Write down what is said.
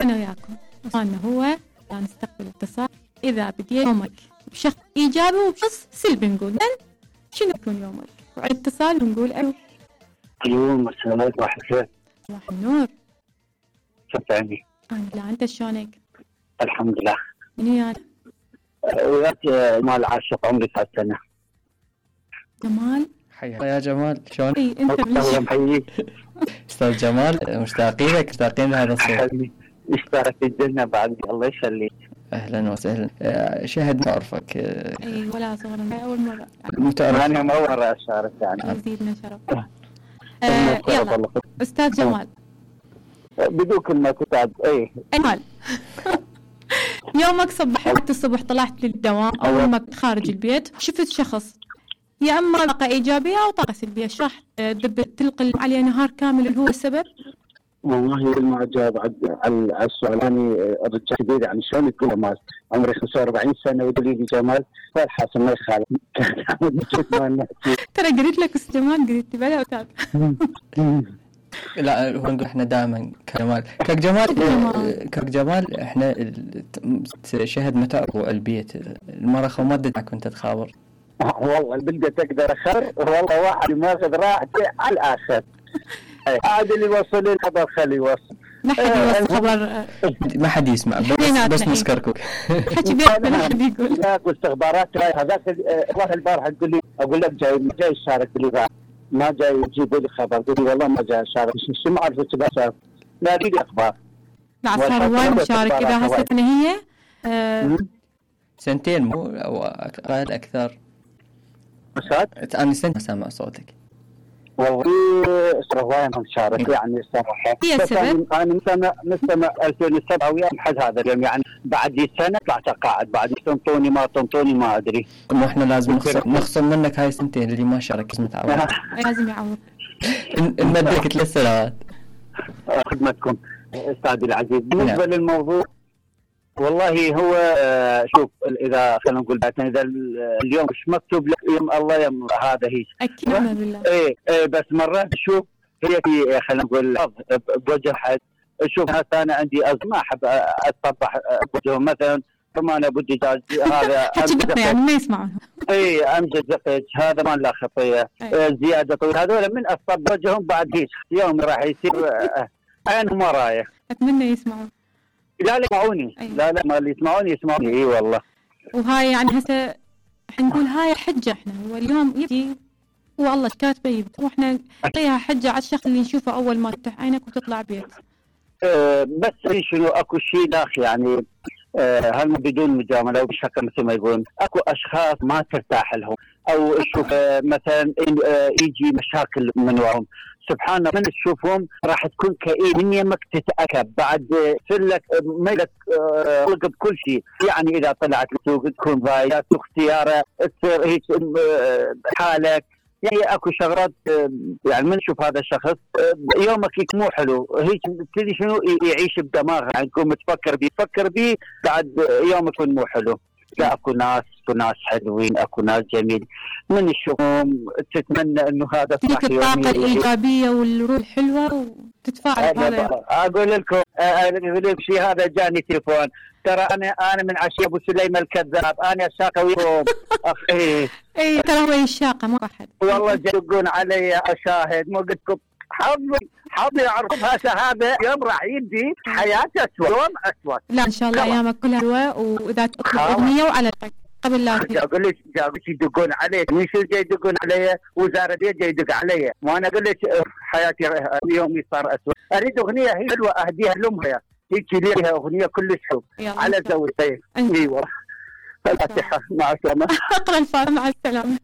أنا وياكم وصلنا هو نستقبل اتصال إذا بدي يومك بشخص إيجابي وبشخص سلبي نقول شنو يكون يومك؟ وعلى الاتصال بنقول اليوم السلام واحد خير. صباح النور. كيف عندي؟ لا أنت شلونك؟ الحمد لله. من وياك؟ وياك جمال عاشق عمري 9 سنة. جمال؟ حياك يا جمال شلونك؟ اي انت الله محييك. استاذ جمال مشتاقين لك مشتاقين لهذا الصوت. اشترك الجنة بعد الله يخليك. اهلا وسهلا. شهد ما اعرفك. اي ولا صغرا اول مرة. متعرف. انا مرة اشارك يعني. يزيدنا شرف. يلا استاذ جمال. بدون كلمة استاذ. اي جمال. يومك صبحت الصبح طلعت للدوام اول ما خارج البيت شفت شخص يا اما طاقة ايجابية او طاقة سلبية شرح تلقي عليه نهار كامل اللي هو السبب. والله ما جاب على السؤال. أنا رجال كبير يعني شلون تقول جمال عمري 45 سنة وتقولي لي جمال فالحاصل ما يخالف. ترى قلت لك استاذ جمال قلت لي بلا أستاذ. لا هو نقول احنا دائما كجمال احنا شهد متى البيت المرخ وما ادري كنت تخابر. والله البلدة تقدر أخر والله واحد ماخذ راحته على الآخر. عاد اللي يوصل الخبر خليه يوصل. ما حد يوصل خبر. ما حد يسمع بس نسكركم. حكي بيننا ما حد يقول. لا واستخبارات هذاك والله البارحة تقول لي أقول لك جاي الشارك اللي ما جاي يجيب لي خبر. قلت والله ما جاي الشارك شو ما أعرف شو بشارك. لا لي أخبار. لا صار وايد مشارك إذا هسه هي سنتين مو أو أقل أكثر. مشات؟ أنا سنة سامع صوتك. والله صراحة مشارك يعني صراحة. هي السبب؟ أنا من سنة 2007 ويا لحد هذا اليوم يعني بعد سنة طلعت قاعد بعد تنطوني ما تنطوني ما أدري. مو إحنا لازم نخصم منك هاي سنتين اللي ما شارك لازم تعوض. لازم يعوض. نمدك 3 سنوات. خدمتكم أستاذي العزيز. بالنسبة للموضوع والله هو شوف إذا خلينا نقول إذا اليوم مش مكتوب لك يوم الله يوم هذا هي أكيد بالله. إيه بس مرات شوف هي في خلينا نقول بوجه حد. شوف أنا عندي ما أحب أتصبح بوجه مثلا ثم أنا بدي جاز هذا يعني ما يسمعون. إيه أمجد زقج هذا ما له خطية. زيادة طويل هذول من أصب وجههم بعد هيك يوم راح يصير عينهم ورايا. أتمنى يسمعون. لا يسمعوني. لا ما اللي يسمعوني اي والله. وهاي يعني هسه حنقول هاي حجة احنا هو اليوم يجي هو الله كاتبه يبدأ واحنا نعطيها حجة على الشخص اللي نشوفه أول ما تفتح عينك وتطلع بيت. بس شنو اكو شيء داخل يعني هل بدون مجاملة وبشكل مثل ما يقولون اكو اشخاص ما ترتاح لهم او تشوف مثلا يجي مشاكل من وراهم. سبحان الله من تشوفهم راح تكون كئيب من يمك تتأكد بعد سلك ملك بكل شيء يعني إذا طلعت السوق تكون ضايع اختياره تصير هيك حالك يعني اكو شغلات يعني من نشوف هذا الشخص يومك مو حلو هيك تدري شنو يعيش بدماغه يعني تكون تفكر بيه بعد يومك يكون مو حلو. لا اكو ناس حلوين اكو ناس جميل من الشؤون تتمنى انه هذا تلك الطاقة الإيجابية والروح الحلوة وتتفاعل هذا. اقول لكم شيء هذا جاني تليفون ترى انا من عشية ابو سليم الكذاب انا الشاقة وياكم اخي. اي ترى هو الشاقة ما احد والله يدقون علي اشاهد مو قلت لكم حظي اعرفها شهاده يوم راح يدي حياتي اسود يوم اسود. لا ان شاء الله ايامك كلها حلوه واذا تطلب اغنيه وعلى قبل لا اقول لك يدقون علي مش جاي يدقون علي وزاره جاي يدق علي وانا اقول لك حياتي يومي صار اسود. اريد اغنيه هي حلوه اهديها لامها هيك ليها اغنيه كلش حلوه على زوجتي. ايوه الفاتحه مع السلامه. اقرا الفاتحه مع السلامه.